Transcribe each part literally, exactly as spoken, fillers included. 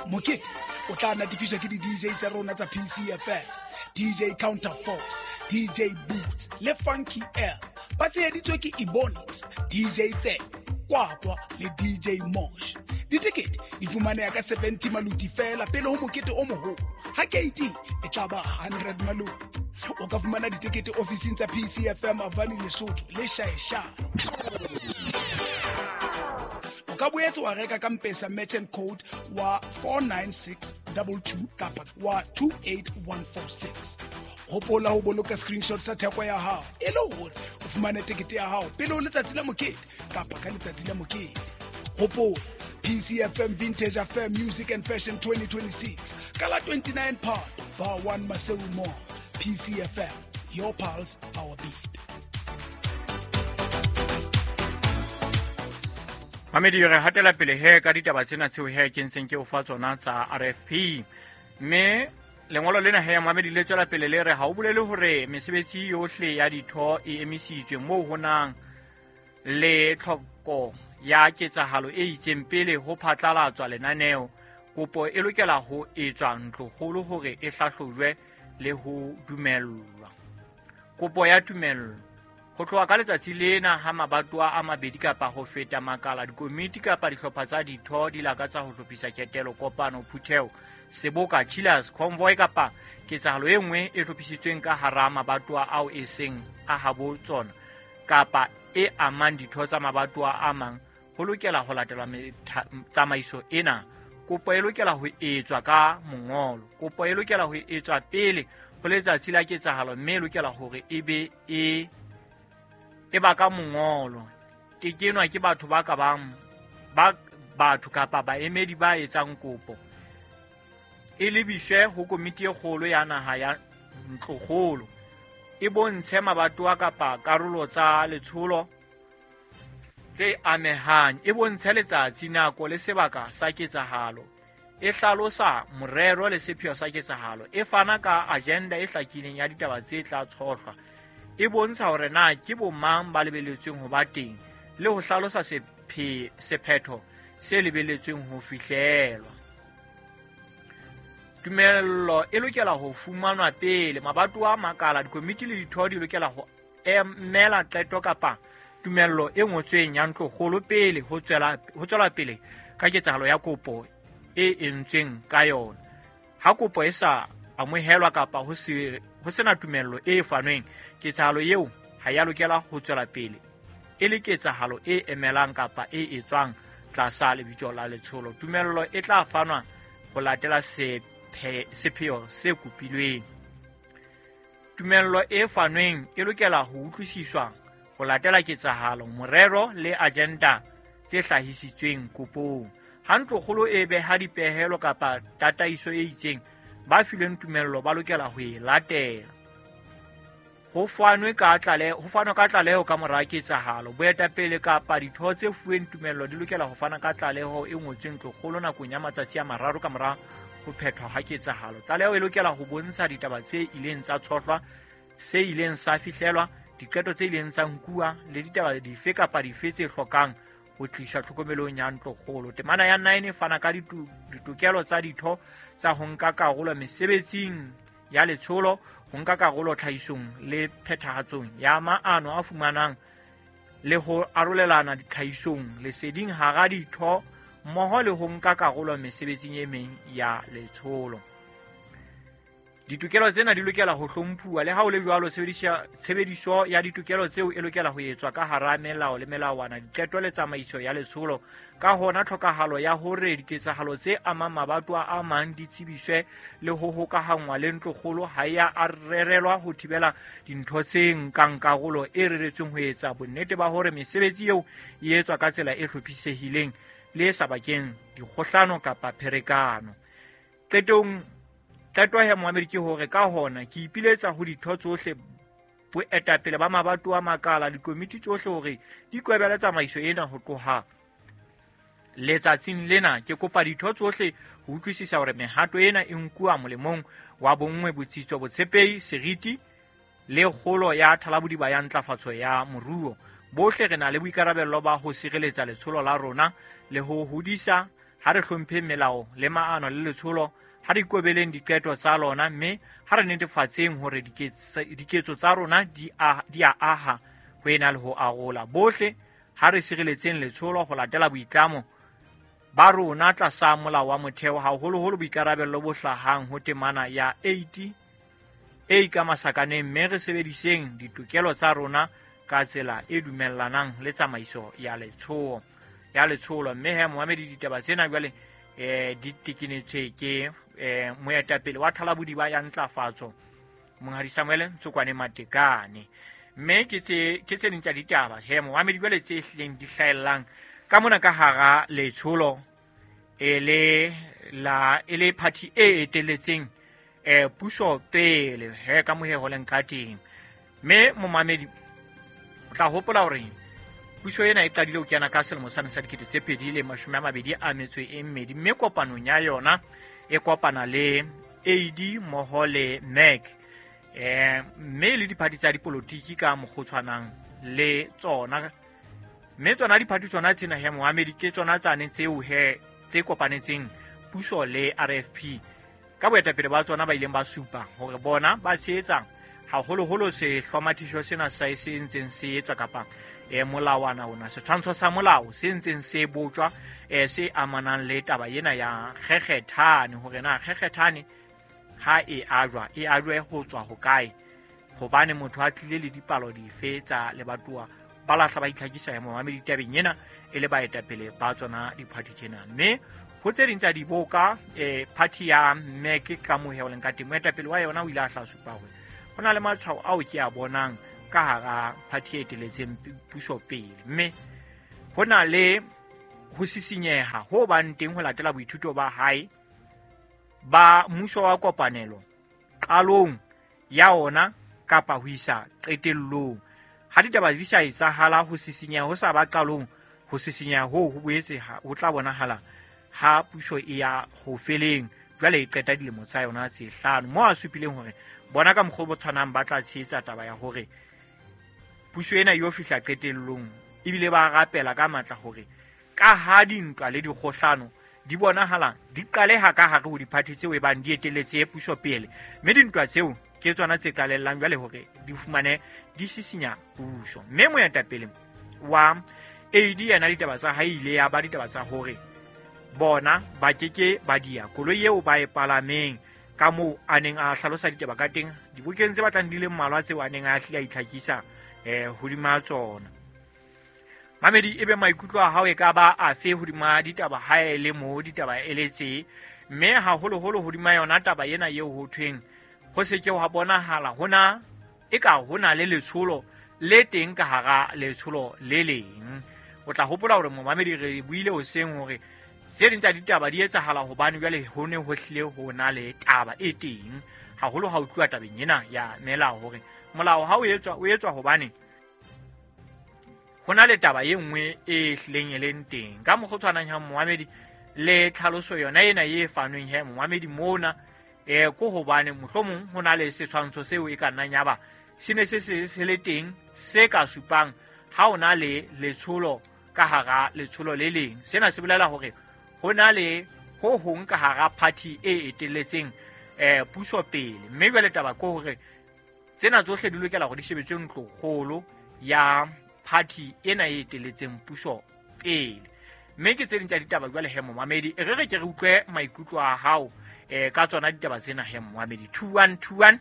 Mokete o tla natefiswa ke di-D J tsa rona tsa P C F M, D J Counterforce, D J Boots le Funky L. Ba tsheheditswe ke Ebonics, D J Tse, Kwakwa le D J Mosh. Ditekete di fumaneha ka seventy maluti fela pele ho mokete o moholo. Ha K T e tla ba hundred maluti. O ka fumana ditekete ofising tsa P C F M Avani Lesotho le Shaeshae. O ka boetse wa reka ka M-Pesa merchant code wa four nine six two two kapa wa two eight one four six. Hopola ho boloka screenshot sa theko ya hao e le hore o fumane tekete ya hao pele ho letsatsi la mokete kapa ka letsatsi la mokete. Hopola P C F M Vintage Affair Music and Fashion twenty twenty-six. Ka la twenty-nine Phato, Bar one Maseru Mall. P C F M, your pulse, our beat. Mamedi re hatela pele he ka ditaba tsena tseo he ke ntseng ke o fa tsona tsa R F P. Mme lengolo lena he Mamedi le tswela pele le re ha o bolele hore mesebetsi yohle ya ditho e emisitswe moo ho nang le tlhoko ya ketsahalo e itseng pele ho phatlalatswa lenaneo. Kopo e lokela ho etswa ntlokgolo hore e hlahlojwe le ho dumellwa. Kopo ya tumello ho tloha ka letsatsi lena ha mabatowa a mabedi kapa ho feta makala, dikomiti kapa dihlopha tsa ditho di lakatsa ho hlophisa ketelo, kopano, phutheho, seboka, chillers, convoy kapa ketsahalo e nngwe e hlophisitsweng ka hara mabatowa ao e seng a habo tsona kapa e amang ditho tsa mabatowa a mang, ho lokela ho latelwa tsamaiso ena. Kopo e lokela ho etswa ka mongolo. Kopo e lokela ho etswa pele ho letsatsi la ketsahalo mme e lokela hore e be e e ba ka mongolo. Tekenwa ke batho ba ka bang ba batho kapa baemedi ba etsang kopo. E lebiswe ho komiti e kgolo ya naha ya ntlokgolo. E bontshe mabatowa kapa karolo tsa letsholo tse amehang. E bontshe letsatsi, nako le sebaka sa ketsahalo. E hlalosa morero le sepheo sa ketsahalo. E fana ka agenda e hlakileng ya ditaba tse tla tshohlwa. E bontsha hore na ke bomang ba lebeletsweng ho ba teng le ho hlalosa sephe sephetho se lebeletsweng ho fihlelwa. Tumello e lokela ho fumanwa pele mabatowa, makala, dikomiti le ditho di lokela ho emela qeto kapa tumello e ngotsweng ya ntlokgolo pele ho tswela ho tswela pele ka ketsahalo ya kopo e entsweng ka yona. Ha kopo e sa amohelwa kapa ho se ho sena tumello e fanweng, ketsahalo eo ha ya lokela ho tswela pele e le ketsahalo e emelang kapa e etswang tlasa lebitso la letsholo. Tumello e tla fanwa ho latela sepheo se kopilweng. Tumello e fanweng e lokela ho utlwisiswa ho latela ketsahalo, morero le agenda tse hlahisitsweng kopong. Ha ntlokgolo e beha dipehelo kapa tataiso e itseng, ba filweng tumello ba lokela ho e latela. Ho fanwe ka tlaleho, ho fanwa ka tlaleho ka mora ketsahalo. Boetapele kapa ditho tse fuweng tumello di lokela ho fana ka tlaleho e ngotsweng ntlokgolo nakong ya matsatsi a mararo ka mora ho phethwa ha ketsahalo. Tlaleho e lokela ho bontsha ditaba tse ileng tsa tshohlwa, se ileng sa fihlelwa, diqeto tse ileng tsa nkuwa le ditaba dife kapa dife tse hlokang ho tliswa tlhokomelong ya ntlokgolo. Temana ya nine e fana ka ditokelo tsa ditho tsa ho nka karolo mesebetsing ya letsholo, ho nka karolo tlhahisong le phethahatsong ya maano a fumanang le ho arolelana ditlhahisong leseding hara ditho mmoho le ho nka karolo mesebetsing e meng ya letsholo. Ditokelo tsena di lokela ho hlomphuwa. Le ha ho le jwalo, tshebediso ya ditokelo tseo e lokela ho etswa ka hara melao le melawana, diqeto le tsamaiso ya letsholo. Ka hona, tlhokahalo ya hore diketsahalo tse amang mabatowa a mang di tsebiswe le ho hokahanngwa le ntlokgolo ha ya rerelwa ho thibela dintho tse nkang karolo e reretsweng ho etsa bonnete ba hore mesebetsi eo e etswa ka tsela e hlophisehileng le e sa bakeng dikgohlano kapa pherekano. Qetong Qeto ya Moamedi ke hore ka hona ke ipiletsa ho ditho tsohle, boetapele ba mabatowa, makala, dikomiti tsohle hore di kwebele tsamaiso ena ho tloha letsatsing lena. Ke kopa ditho tsohle ho utlwisisa hore mehato ena e nkuwa molemong wa bonngwe, botsitso, botshepehi, seriti le kgolo ya thalabodiba ya ntlafatso ya moruo. Bohle re na le boikarabello ba ho sireletsa letsholo la rona le ho hodisa Ha re hlompheng melao le maano le letsholo, ha re ikobeleng diqeto tsa lona, mme ha re netefatseng hore diketso tsa rona di a di a aha ho ena le ho arola. Bohle ha re sireletseng letsholo ho latela boitlamo ba rona tlasa molao wa motheo, haholoholo boikarabello bo hlahang ho temana ya eighty A ka masakaneng, mme re sebediseng ditokelo tsa rona ka tsela e dumellanang le tsamaiso ya letsholo ya letsholo. Mme he momamedi, ditaba tsena jwale eh di tekenetswe ke eh moetapele wa Thalabodiba ya Ntlafatso, Monghadi Samuel Ntsokwane Matekane. Mme ke tse ke tse ding tsa ditaba he momamedi jwale tse hlileng di hlahellang ka mona ka hara letsholo e le la e le party e eteletseng eh puso pele he ka mohe ho leng ka teng. Mme momamedi o tla hopola hore puso ena e qadile ho kena ka selemo sa dikete tse pedi le mashome a mabedi a metso e mmedi, mme kopanong ya yona e kopana le A D mmoho le M E C eh mme le diphathi tsa dipolotiki ka mokgotshwanang le tsona. Mme tsona diphathi tsona tsena he momamedi ke tsona tsane tseo he tse kopanetseng puso le R F P ka boetapele ba tsona ba ileng ba supa hore bona ba tshehetsa haholoholo sehlomathiso sena sa se ntseng se etswa kapa e molawana ona setshwantsho sa molao se ntseng se botjwa e se amanang le taba ena ya kgekgethane, hore na kgekgethane ha e ajwa e ajwe ho tswa hokae, hobane motho a tlile le dipalo dife tsa lebatowa ba lahla ba itlhakisa ya momamedi tabeng ena e le baetapele ba tsona diphathi tsena. Mme ho tse ding tsa diboka eh party ya M E C ka mohe o leng ka teng, moetapele wa yona o ile a hla supa hore ho na le matshwao ao ke a bonang ka hara party e eteletseng puso pele, mme ho na le ho sisinyeha ho bang teng ho latela boithuto ba hae ba mmuso wa kopanelo qalong ya ona kapa ho isa qetellong. Ha ditaba di sa etsahala, ho sisinyeha ho sa ba qalong, ho sisinyeha ho ho boetse ho tla bonahala ha puso e ya ho feleng jwale e qeta dilemo tsa yona tse hlano, moo a supileng hore bona ka mokgwa o tshwanang ba tla tshehetsa taba ya hore puso ena e yo fihla qetellong, ebile ba rapela ka matla hore ka ha dintwa le dikgohlano di bonahala di qaleha ka hare ho diphathi tseo e bang di eteletse puso pele, mme dintwa tseo ke tsona tse qalellang jwale hore di fumane di sisinya puso. Mme moetapele wa A D yena ditaba tsa hae ile ya ba ditaba tsa hore bona ba keke ba dia koloi eo ba e palameng ka moo a neng a hlalosa ditaba ka teng dibokeng tse batlang di le mmalwa tseo a neng a hlile a itlhakisa eh hodima tsona. Mamedi, ebe maikutlo a hao e ka ba afe hodima ditaba ha e le mo ditaba e letse, mme haholoholo hodima yona taba ena eo ho thweng ho se ke wa bonahala hona e ka hona le letsholo le teng ka hara letsholo le leng. O tla hopola hore momamedi re buile hoseng hore tse ding tsa ditaba di etsahala hobane jwale ho ne ho hlile ho na le taba e teng haholo ha o tluwa tabeng ena ya melao, hore molao ha o etswa o etswa hobane ho na le taba e nngwe e hlileng e leng teng. Ka mokgwa o tshwanang ha momamedi le tlhaloso yona ena e fanweng he momamedi mona eh ko hobane mohlomong ho na le setshwantsho seo e ka nnang ya ba se ne se se se le teng se ka supang ha o na le letsholo ka hara letsholo le leng. Sena se bolela hore ho na le ho hong ka hara party e eteletseng eh puso pele, mme jwale taba ke hore tsena tsohle di lokela hore di shebetswe ntlokgolo ya party ena e eteletseng puso pele. Mme ke tse ding tsa ditaba jwale he momamedi, e re re ke re utlwe maikutlo a hao eh ka tsona ditaba tsena he momamedi. Two one two one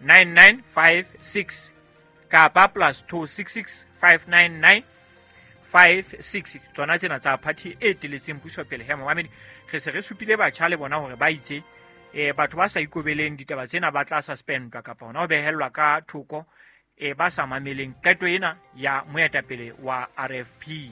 nine nine five six kapa plus two six six five nine nine five six, tsona tsena tsa party e eteletseng puso pele he momamedi. Re se re supile batjha le bona hore ba itse eh batho ba sa ikobeleng ditaba tsena ba tla suspendwa kapa hona ho behellwa ka thoko e ba sa mameleng qeto ena ya moetapele wa R F P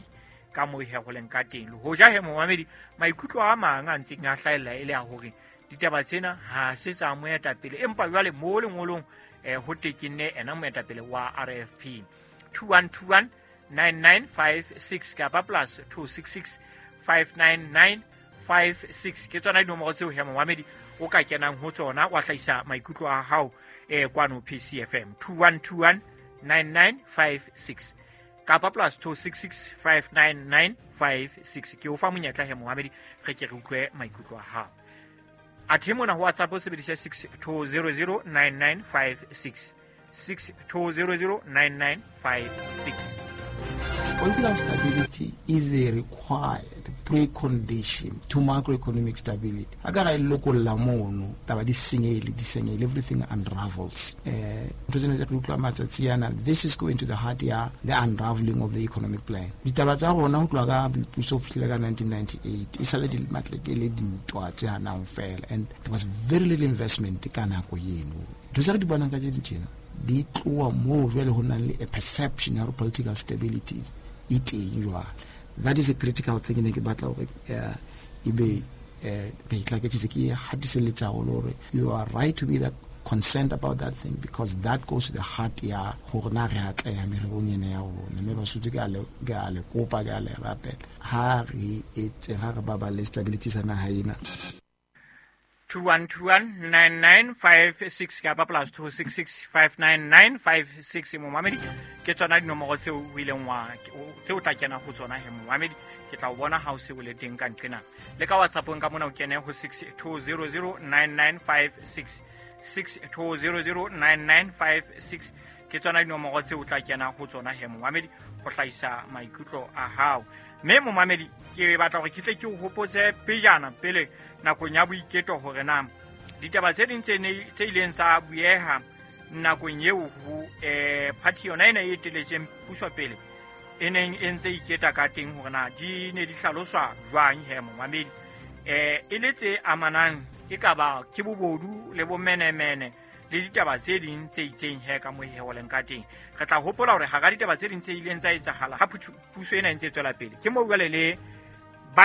ka moo he ho leng ka teng. Le hoja he momamedi maikutlo a mang a ntseng a hlahella e le a hore ditaba tsena ha se tsa moetapele, empa jwale mo lengolong eh ho tekenne ena moetapele wa R F P. Two one two one nine nine five six kapa plus two six six five nine nine five six ke tsona dinomoro tseo he momamedi o ka kenang ho tsona wa hlahisa maikutlo a hao eh kwano P C F M. Two one two one nine nine five six. kapa plus two six six five nine nine five six. Ke o fa monyetla he momamedi, re ke re utlwe maikutlo a hao. Athe mona ho WhatsApp o sebedisa six two zero zero nine nine five six, six two zero zero nine nine five six. Political stability is a required precondition to macroeconomic stability. Ha ka ra e lokolla mono, taba di senyehile, di senyehile, everything unravels. Eh, ntho tsena tse re utlwa matsatsi ana, this is going to the heart ya the unraveling of the economic plan. Ditaba tsa rona ho tloha ka boipuso ho fihlela ka nineteen ninety-eight, e sale di matleke le dintwa tse hanang fela, and there was very little investment ka nako eno. Ntho tse re di bonang ka tse di tjena, di tloha moo jwale ho nang le a perception ya hore political stability e teng jwale. That is a critical thing ne ke batla hore, eh, ebe, eh, re itlaketsitse, ke hatiselletsa haholo hore you are right to be that concerned about that thing, because that goes to the heart ya hore na re atleha mererong ena ya rona. Mme Basotho ke a le, ke a le kopa, ke a le rapela, ha re etse, ha re baballe stability sa naha ena. two one two one nine nine five six kapa plus two six six five nine nine five six. Momamedi, ke tsona dinomoro tseo o ileng wa, tseo o tla kena ho tsona he momamedi. Ke tla o bona ha o se o le teng ka nqena. Le ka WhatsApp-ong ka mona o kene ho six two zero zero nine nine five six, six two zero zero nine nine five six. Ke tsona dinomoro tseo o tla kena ho tsona he momamedi ho hlahisa maikutlo a hao. Mme momamedi, ke batla hore ke tle ke o hopotse pejana pele nakong ya boiketo hore na ditaba tse ding tse ne, tse ileng tsa bueha nakong eo ho, eh, party yona ena e eteletseng puso pele e neng e ntse iketa ka teng, hore na di ne di hlaloswa jwang he momamedi. Eh, e le tse amanang e ka ba ke bobodu le bomenemene le ditaba tse ding tse itseng he ka moo he ho leng ka teng. Re tla hopola hore hara ditaba tse ding tse ileng tsa etsahala ha puthu-, puso ena e ntse e tswela pele, ke moo jwale le ba,